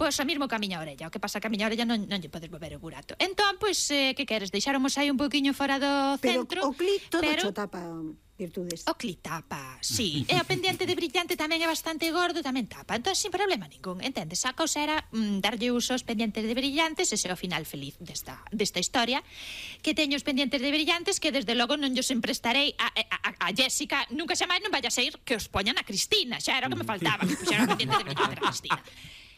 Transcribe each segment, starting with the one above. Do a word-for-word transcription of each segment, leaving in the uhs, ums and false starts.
Pois o mismo que a miña orella, o que pasa que a miña orella non, non lle podes mover o burato. Entón, pois, eh, que queres? Deixáramos aí un poquinho fora do centro. Pero o clic todo pero... cho tapa, Virtudes. O clic tapa, sí. E o pendiente de brillante tamén é bastante gordo, tamén tapa. Entón, sin problema ningún, entendes? A cousa era mm, darlle uso aos pendientes de brillantes, ese é o final feliz desta, desta historia, que teño os pendientes de brillantes que desde logo non llos emprestarei a, a, a Jessica, nunca xa máis non vaya a ser que os poñan a Cristina, xa era o que me faltaba, que puxeran o pendiente de brillante a Cristina.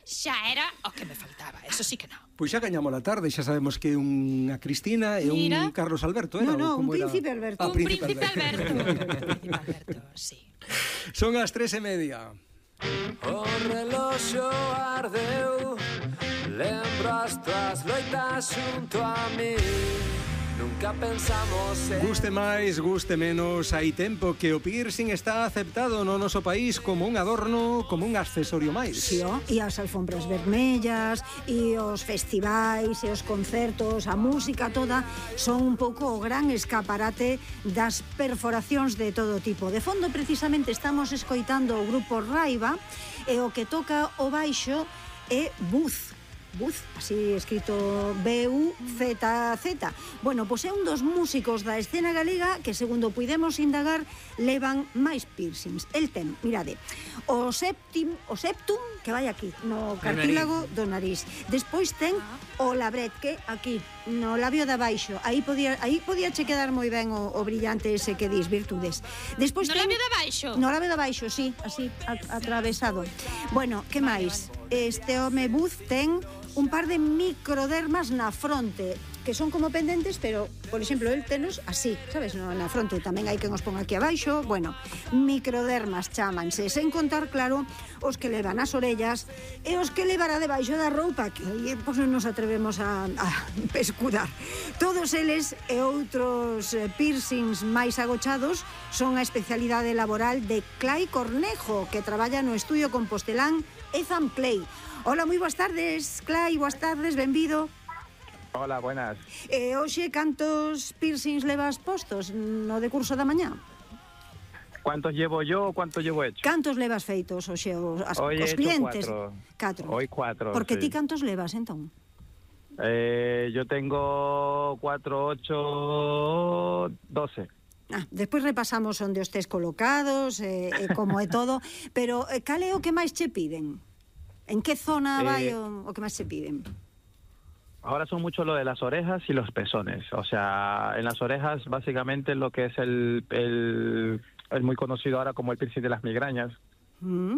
Xa era o que me faltaba, eso sí que non. Pois xa gañamos a tarde, xa sabemos que unha Cristina e un Mira. Carlos Alberto, era? No, no, un como era? príncipe Alberto. Ah, Un príncipe Alberto. Un príncipe Alberto, sí. Son as tres e media. O reloxo ardeu, lembro as tuas loitas xunto a mí. Nunca pensamos en... Guste máis, guste menos, hai tempo que o piercing está aceptado no noso país como un adorno, como un accesorio máis. Sí, oh, e as alfombras vermellas, e os festivais, e os concertos, a música toda, son un pouco o gran escaparate das perforacións de todo tipo. De fondo, precisamente, estamos escoitando o grupo Raiva, e o que toca o baixo é Buz. Buz, así escrito B U Z Z. Bueno, pois é un dos músicos da escena galega que, segundo puidemos indagar, levan máis piercings. El ten, mirade, o septim, o septum, que vai aquí, no cartílago do nariz. Despois ten o labret, que aquí, no labio de abaixo. Aí podía, aí podía che quedar moi ben o, o brillante ese que dis, Virtudes. Despois No ten... labio de abaixo? No labio de abaixo, sí, así, a, atravesado. Bueno, que máis? Este home Buz ten un par de microdermas na fronte, que son como pendentes, pero, por exemplo, el tenos así, sabes, no, na fronte. Tamén hai que nos pon aquí abaixo. Bueno, microdermas chámanse, sen contar, claro, os que levan as orellas e os que levará debaixo da roupa, que aí, pois, non nos atrevemos a, a pescudar. Todos eles e outros piercings máis agochados son a especialidade laboral de Clay Cornejo, que traballa no estudio compostelán Etham Clay. Hola, moi boas tardes, Clay, boas tardes, benvido. Hola, buenas. E hoxe, cantos piercings levas postos no decurso da mañá? ¿Cuántos llevo yo o cuántos llevo hecho? Cantos levas feitos hoxe os, as, Hoy he os hecho clientes? cuatro. Catro. Hoy cuatro, Porque sí. ti cantos levas, entón? Eh, yo tengo cuatro, ocho, doce. Ah, despois repasamos onde os tes colocados, eh, eh, como é todo, pero eh, cal é o que máis che piden? En que zona vai Eh, o, o que máis se piden? Ahora son mucho lo de las orejas y los pezones. O sea, en las orejas básicamente lo que es el, el, el muy conocido ahora como el piercing de las migrañas. Mm.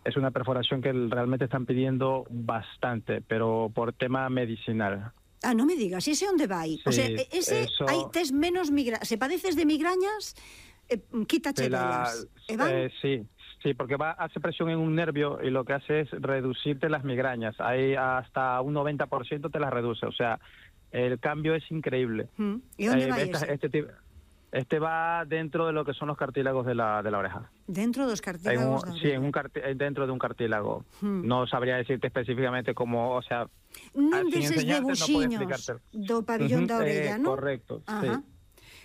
Es una perforación que realmente están pidiendo bastante, pero por tema medicinal. Ah, non me digas, ese onde vai? O Sí, sea, ese, eso- hai tes menos migrañas. Se padeces de migrañas, eh, quítache De la- delas. E van? eh, sí, sí, porque va hace presión en un nervio y lo que hace es reducirte las migrañas. Hay hasta un noventa por ciento te las reduce. O sea, el cambio es increíble. Mm. E onde Eh, vai esta- ese? este, tipo- este va dentro de lo que son los cartílagos de la, de la oreja. Dentro dos En un- cartílagos da sí, en orella. un carti- eh, dentro de un cartílago. Hmm. No sabría decirte específicamente cómo, o sea, Non sin deses enseñarte no puedo debuxiños explicarte. do pabillón da Ujú, orella, eh, non? correcto, Ajá. sí.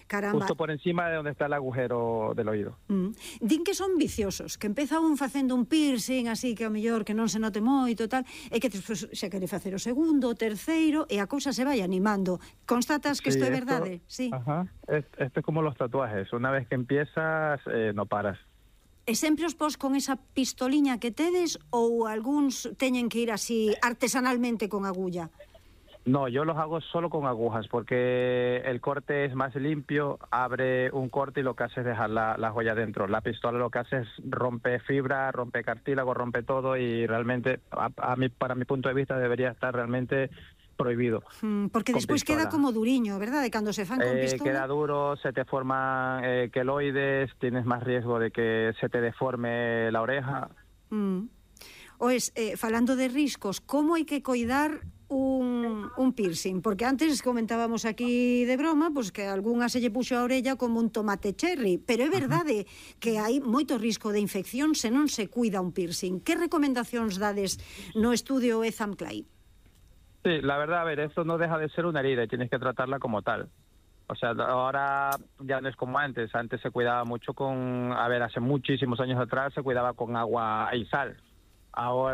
Caramba. Justo por encima de donde está el agujero del oído. Mm. Din que son viciosos, que empeza un facendo un piercing así que ao mellor que non se note moito tal, e que despois se quere facer o segundo, o terceiro, e a cousa se vai animando. Constatas que Sí, isto é esto- verdade? Sí. Ajá. Es- Esto es como los tatuajes. Una vez que empiezas, eh, no paras. E sempre os pos con esa pistoliña que tedes ou algúns teñen que ir así artesanalmente con agulla? No, yo los hago solo con agujas porque el corte es más limpio, abre un corte y lo que hace es dejar la, la joya dentro. La pistola lo que hace es rompe fibra, rompe cartílago, rompe todo y realmente, a, a mí, para mi punto de vista, debería estar realmente prohibido. Mm, porque Con despois pistola. queda como duriño, verdade? Cando se fan con Eh, pistola. queda duro, se te forman eh, queloides, tienes más riesgo de que se te deforme la oreja. Mm. Oes, eh, falando de riscos, como hai que coidar un, un piercing? Porque antes comentábamos aquí de broma, pues que algunha se lle puxo a orella como un tomate cherry, pero é verdade que hai moito risco de infección se non se cuida un piercing. Que recomendacións dades no estudio Etham Clay? Sí, la verdad, a ver, esto no deja de ser una herida y tienes que tratarla como tal. O sea, ahora ya no es como antes. Antes se cuidaba mucho con, a ver, hace muchísimos años atrás se cuidaba con agua y sal. Ahora